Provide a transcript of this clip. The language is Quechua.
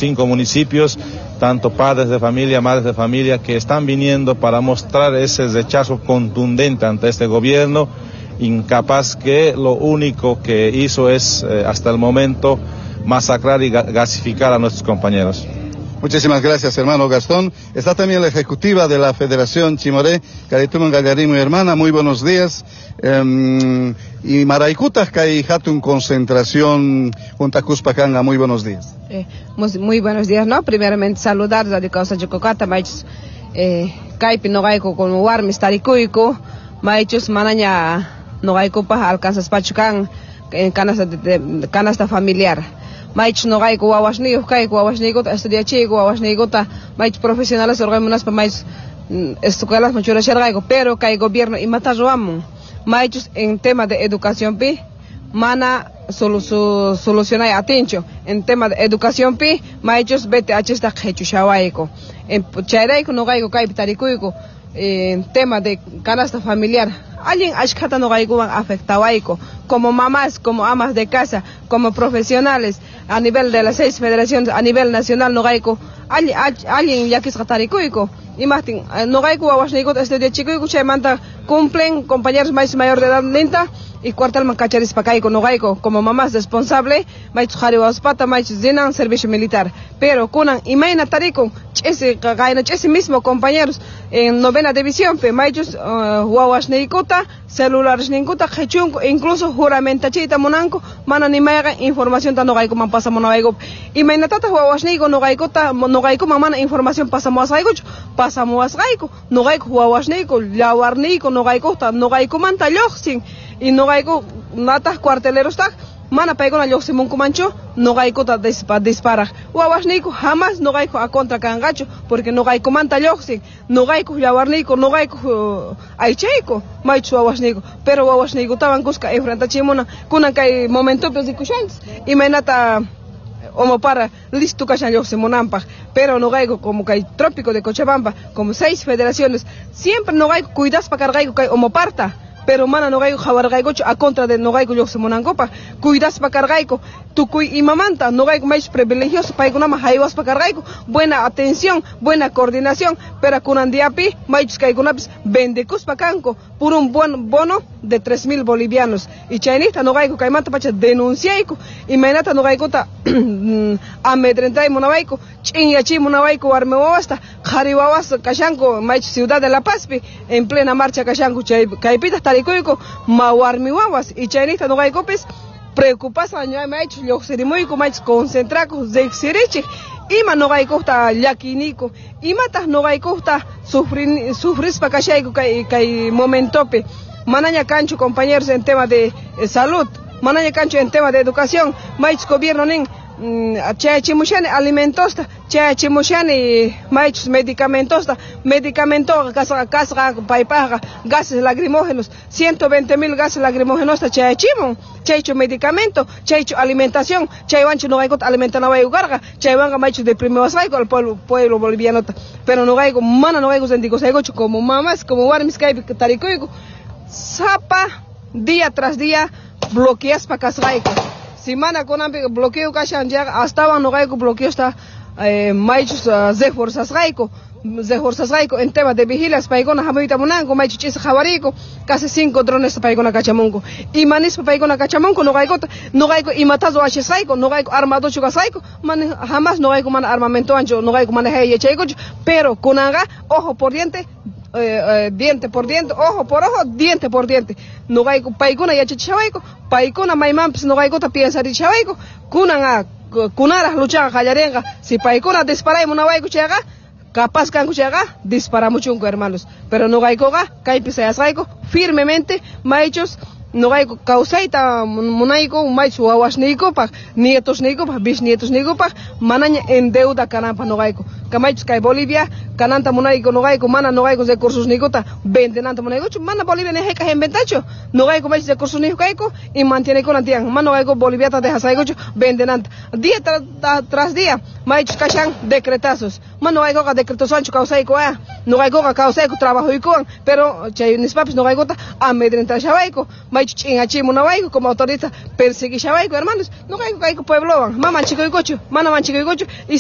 5 municipios, tanto padres de familia, madres de familia, que están viniendo para mostrar ese rechazo contundente ante este gobierno incapaz que lo único que hizo es, hasta el momento, masacrar y gasificar a nuestros compañeros. Muchísimas gracias, hermano Gastón. Está también la ejecutiva de la Federación Chimoré, Carituman Gallarimo, hermana, muy buenos días. Y Maraykutaj kay hatun concentración hunt'akuspa kanga, muy buenos días. Muy buenos días, ¿no? Primeramente saludar Radio Kawsachikukata, maychus kaypi noqayku como warmis tarikuyku, maychus manaña noqaykupaj alcanzaspachu kan en canasta, de, canasta familiar. Maychus noqayku wawasniyuq kayku, wawasniykuta estudiachiyku, wawasniykuta maychus profesionales hurqaymunaspa maychus escuelasman churasharqayku, pero kay gobierno imata ruwamun, maychus en tema de educación pi mana solucionay atinchu, en tema de educación pi maychus BTH qhichushawayku, en chayrayku noqayku kaypi tarikuyku en tema de canasta familiar. Allin ashkhata noqaykuwan afectawayku como mamás, como amas de casa, como profesionales a nivel de las 6 federaciones, a nivel nacional noqayku allin llakisqa tarikuyku. Imajtin noqayku wawasniykuta estudiachikuyku, chaymanta cumplen compañeros más mayor de edad ninta y cuartelman kacharispa kayku noqayku como mamás responsable, maychus qhari wawaspata maychus rinan servicio militar. Pero kunan imayna tarikun ch'isi qayna ch'isi mismo compañeros en novena división pe maychus wawasniykuta celularesninkuta qhichunku, incluso juramentachiyta munanku, mana ni mayqan informacionta noqaykuman pasamunawaykupi. Imaynatataq wawasniyku noqaykuta noqaykuman mana información pasamuwasqaykuchu, pasamuwasqayku noqayku wawasniyku llawarniyku noqaykuta noqaykumanta lluqsin y noqayku nataq cuartelerostaq mana paykuna lluqsimunkumanchu noqaykuta disparaq. Wawasniyku jamás noqayku a contra kanqachu porque noqaykumanta lluqsin, noqayku llawarniyku, noqayku aychayku maychus wawasniyku, pero wawasniykutawan kuska enfrentachimuna kunan kay momentopi rikushanchis imaynata Omopara listo kashan lluqsimunanpaq, pero noqayku como kay trópico de Cochabamba, como 6 federaciones, siempre noqayku cuidaspa karqayku kay Omoparta, pero mana noqayku qhawarqaykuchu a contra de noqayku lluqsimunankupaq, cuidaspa karqayku tukuy imamanta, noqayku maychus privilegioso paykunaman haywaspa karqayku, buena atención, buena coordinación, pero kunan diapi maychus kaykunapis vendekuspa kanku por un buen bono de 3.000 bolivianos. Y chaynita noqayku kaymanta pacha denunciayku, imaynata noqaykuta amedrentay munawayku, ch'inyachiy munawayku warmi wawasta, qhari wawas kashanku maychus Ciudad de La Pazpi en plena marcha kashanku, chay kaypitaq tarikuyku ma warmi wawas, y chaynita noqaykupis preocupasqa maychus lluqsirimuyku, maychus concentrakuq riqsirichik ima noqaykuqta llakiniyku, imataq noqaykuqta sufrispa kashayku kay momentopi. Manaña kanchu compañeros en tema de salud, manaña kanchu en tema de educación, maychus gobierno nin chayachimushani alimentosta, chayachimushani maychus medicamentosta, medicamento kasqa kasqa paypaqqa gases lacrimógenos, 120.000 gases lacrimógenos chayachimun, chaychu medicamento, chaychu alimentación, chaywanchu noqaykuta alimentanawayku karqa, chaywanqa maychu deprimiwasqayku al pueblo bolivianota, pero noqayku mana noqayku sentikusaykuchu como mamás, como warmis kaypi tarikuyku, sapa día tras día bloqueaspa kasqayku. Si mana kunanpi bloqueo kashan yaqa astawan noqayku bloqueosta maychus reforzasqayku, reforzasqayku en tema de vigilas paykuna hamuyta munanku, maychus ch'isi qhawariyku, casi 5 drones paykuna kachamunku. Imanispa paykuna kachamunku noqaykuta, noqayku imatas ruwashasqayku, noqayku armadochu kasqayku, mana jamás noqayku mana armamentowanchu, noqayku mana yachaykuchu, pero kunanqa ojo por diente, diente por diente, ojo por ojo, diente por diente. Noqayku paykuna yachachishawayku, paykuna maymanpis noqaykuta piensarichawayku, kunan kunaraq luchaqa qallarinqa, si paykuna disparay munawayku chayqa, capaz kanku chayqa disparamuchunku hermanos, pero noqaykuqa kaypi sayasqayku firmemente maychus noqayku kawsayta munayku maychus wawasniykupaq, nietosniykupaq, bisnietosniykupaq, manaña en deuda kananpaq noqayku. Kamaychus kay Bolivia kananta munayku noqayku, mana noqayku recursos niykuta vendenanta munaykuchu, mana Bolivia ni hayk'aq inventachu. Noqayku maychus recursos niyuq kayku y mantienekunan tiyan, mana noqayku Boliviata dejasaykuchu vendenanta. Día tras día maychus kashan decretazos, mana noqaykuqa decretoswanchu kawsayku, noqaykuqa kawsayku trabajoykuwan, pero chay nispapis noqaykuta amedrentashawayku, maychus ch'ingachimunawayku como autoridad, perseguishawayku, hermanos. Noqayku kayku pueblowan, mana manchikuykuchu, mana manchikuykuchu y